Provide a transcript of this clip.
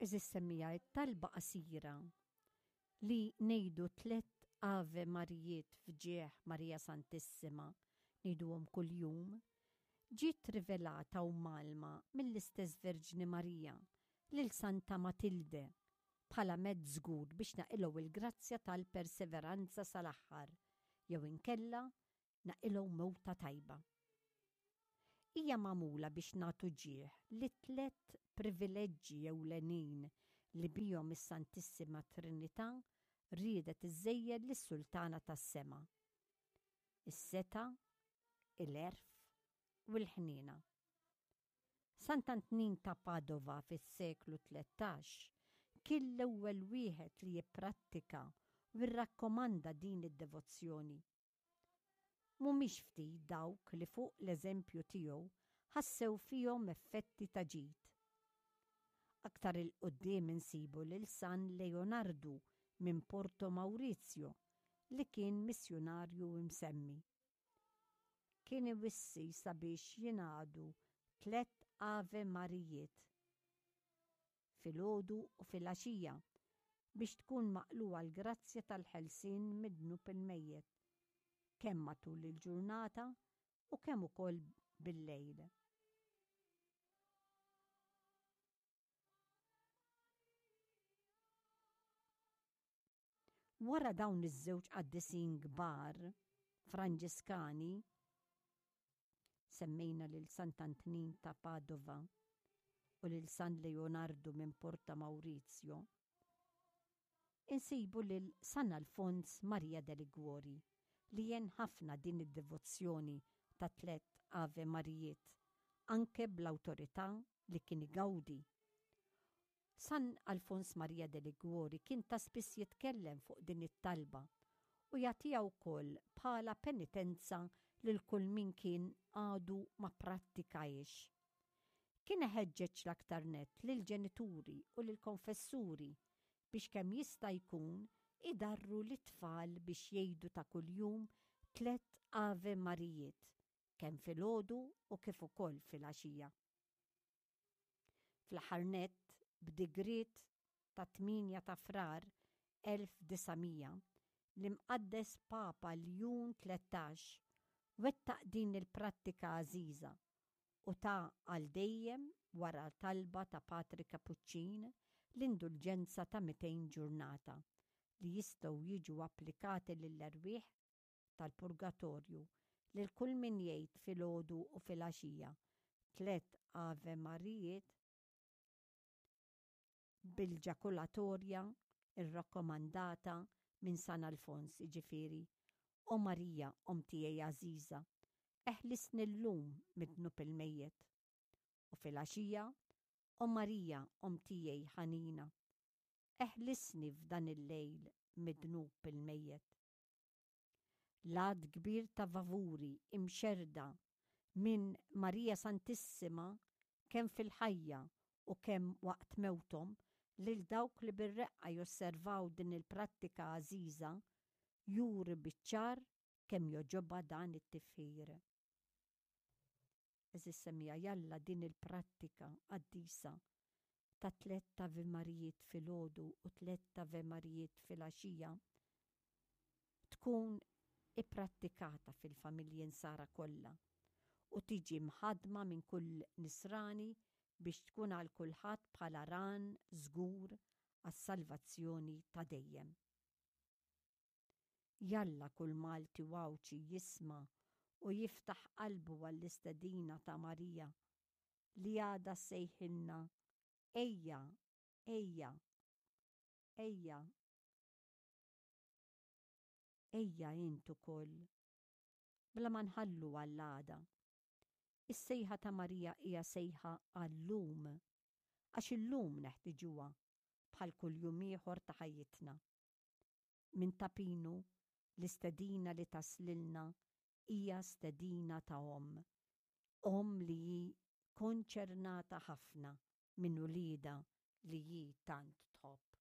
Għeżież semmiegħa it-talba qasira li ngħidu tlett Ave Marijiet f'ġieħ Marija Santissima, ngħiduhom kuljum, ġiet rivelata u mgħallma mill-istess Verġni Marija lil Santa Matilde bħala mezz żgur biex naqilgħu l-grazzja tal-perseveranza sal-aħħar jew inkella naqilgħu mewta tajba. Hija magħmula biex nagħtu ġieħ lit-tlett privileġġi ewlenin li bihom is-Santissima Trinità riedet iżżejjen lis-Sultana tas-Sema, is-setgħa, il-għerf u l-ħniena. Sant'Antnin ta' Padova fis-seklu 13 kien l-ewwel wieħed li jipprattika u rrakkomanda din id-devozzjoni. Mhumiex ftit dawk li fuq l-eżempju tiegħu ħassew fihom effetti ta' ġid. Aktar 'il quddiem insibu lil San Leonardu minn Porto Maurizio li kien missjunarju msemmi. Kien iwissi sabiex jingħadu tlett Ave Marijiet filgħodu u filgħaxija biex tkun maqlugħa l-grazzja tal-ħelsien mid-dnub il-mejjet, kemm matul il-ġurnata u kemm ukoll bil-lejl. Wara dawn iż-żewġ qaddisin kbar Franġiskani, semmejna lil Sant'Antnin ta' Padova u lil San Leonardu minn Porta Maurizio, insibu lil San Alfons Maria de Liguori li għen ħafna din id-devozzjoni ta' tlett Ave Marijiet anke bl-awtorità li kien igawdi. San Alfons Maria de Liguori kien ta' spiss jitkellem fuq din it-talba u jagħtiha wkoll bħala penitenza lil kull min kien għadu ma pprattikahiex. Kien iħeġġeġ l-aktar nett lill-ġenituri u lill-konfessuri biex kemm jista' jkun idarru lit-tfal biex jgħidu ta' kuljum tlett Ave Marijiet, kemm filgħodu u kif ukoll filgħaxija. Fl-aħħar nett, b'digriet tat-8 ta' Frar 1900, l-Imqaddes Papa Ljun 13 wettaq din il-prattika għażiża u ta għal dejjem, wara talba ta' Patri Kapuċċin, l-indulġenza ta' 200 ġurnata li jistgħu jiġu applikati lill-erwieħ tal-purgatorju lil kull min jgħid filgħodu u filgħaxija tlett Ave Marijiet bil-ġakulatorja rrakkomandata minn San Alfons, jiġifieri, O Marija, Omm tiegħi għażiża, eħlisni llum mid-dnub il-mejjet. U filgħaxija, O Marija, Omm tiegħi ħanina, eħlisni f'dan il-lejl mid-dnub il-mejjet. L-għadd kbir ta' vavuri imxerrda minn Marija Santissima kemm fil-ħajja u kemm waqt mewthom lil dawk li bir-reqqa josservaw din il-prattika għażiża juri biċ-ċar kemm jogħġobha dan it-tifħir. Għeżież semmiegħa jalla din il-prattika qaddisa ta' tlett Ave Marijiet filgħodu u tlett Ave Marijiet filgħaxija tkun ipprattikata fil-familji Nsara kollha u tiġi mħaddma minn kull Nisrani biex tkun għal kulħadd bħala ran żgur għas-salvazzjoni ta' dejjem. Jalla kull Malti u Għawdxi jisma' u jiftaħ qalbu għall-istedina ta' Marija li għadha ssejħilna Ejja, ejja, ejja. Ejja int ukoll. Bla ma nħallu għall-għada. Is-sejħa ta' Marija hija sejħa għal-lum, għax illum neħtiġuha bħal kull jum ieħor ta' ħajjitna. Minn Ta' Pinu, l-istedina li taslilna hija stedina ta' omm. Omm li hi konċernata ħafna minn uliedha li hi tant tħobb.